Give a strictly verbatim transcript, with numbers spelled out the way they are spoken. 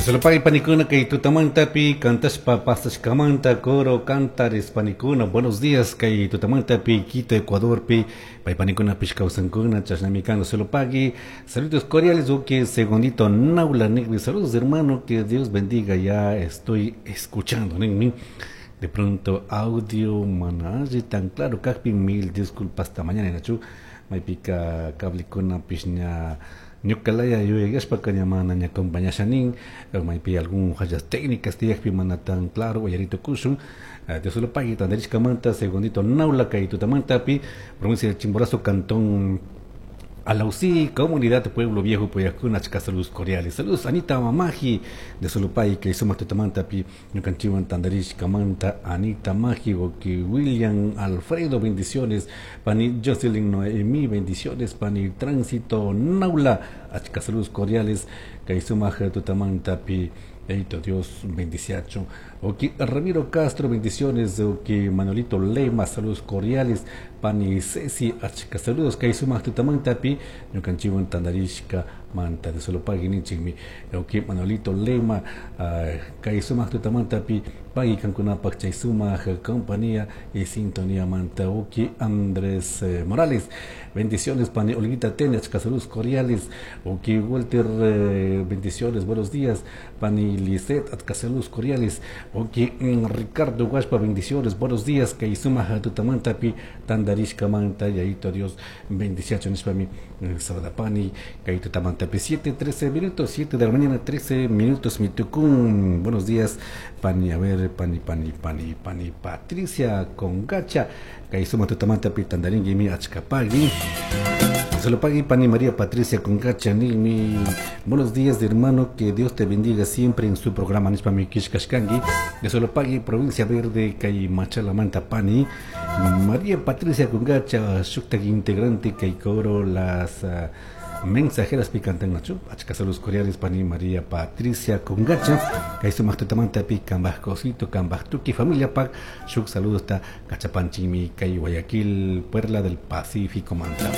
Solopay panikuna kay tutamantapi kantashpa pasashkamanta coro cantares panikuna buenos días kay tutamantapi Quito Ecuadorpi pay panikunapish kawsankuna chashnami kan Solopagui saludos cordiales uki segundito naula nigri saludos hermano que Dios bendiga ya estoy escuchando ninmi de pronto audio mana alli tan claro kakpi mil disculpas hasta mañana nachu maypika cablekunapish ña ñukalaya yuyashpaka ña mana ña acompañasha nin maypi algún fallas técnicas tiyakpi mana tan claro uyaritukushun Dios lo pague tandarishkamanta segundito naula kay tutamantapi provincia de Chimborazo cantón Alausí, comunidad Pueblo Viejo, Puyacuna, achka saludos cordiales. Saludos Anita Mamaji de Solopay, que suma tutamantapi, ñukanchiwan tandarishkamanta, Anita Maji, que William Alfredo, bendiciones, Pani Jocelyn Noemí, bendiciones, Pani Tránsito Naula, achka saludos cordiales, kay sumak tutamantapi, Eito Dios bendiciacho. Ok, Ramiro Castro, bendiciones. Ok, Manolito Lema, saludos cordiales. Pani Ceci, achka saludos. Kay sumak tutamantapi, ñukanchiwan tandarishka manta de Solopagui ninchikmi. Ok, Manolito Lema, uh, kay sumak tutamantapi, pagui kankunapak chay sumak compañía y sintonía manta. Ok, Andrés eh, Morales, bendiciones. Pani Olguita Tene, achka saludos cordiales. Ok, Walter, eh, bendiciones, buenos días. Pani Lisette, achka saludos cordiales. Ok, Ricardo Guaspa, bendiciones, buenos días. Kay sumak tutamantapi, tandarishka manta, yaito Dios, bendiciacho nishpami, Sabadapani, kay tutamantapi, siete, trece minutos, siete de la mañana, trece minutos, mitucún. Buenos días, Pani, a ver, Pani, Pani, Pani, Pani, Patricia Congacha, kay sumak tutamantapi, tandaringui, achkapagui. Solo pagui Pani María Patricia Congacha, mi buenos días, hermano, que Dios te bendiga siempre en su programa nishpami kishkashkangi. De Solo pagui, provincia verde, kay Machala Manta Pani, María Patricia Congacha, shuktak integrante, kay coro las uh, mensajeras picantan nachu, achka saludos cordiales Pani María Patricia Congacha, kay sumak tutamanta pi kambaj cosito, kambaj tuki familia pak, shuk saludos ta kachapanchimi, kay Guayaquil, Perla del Pacífico Manta.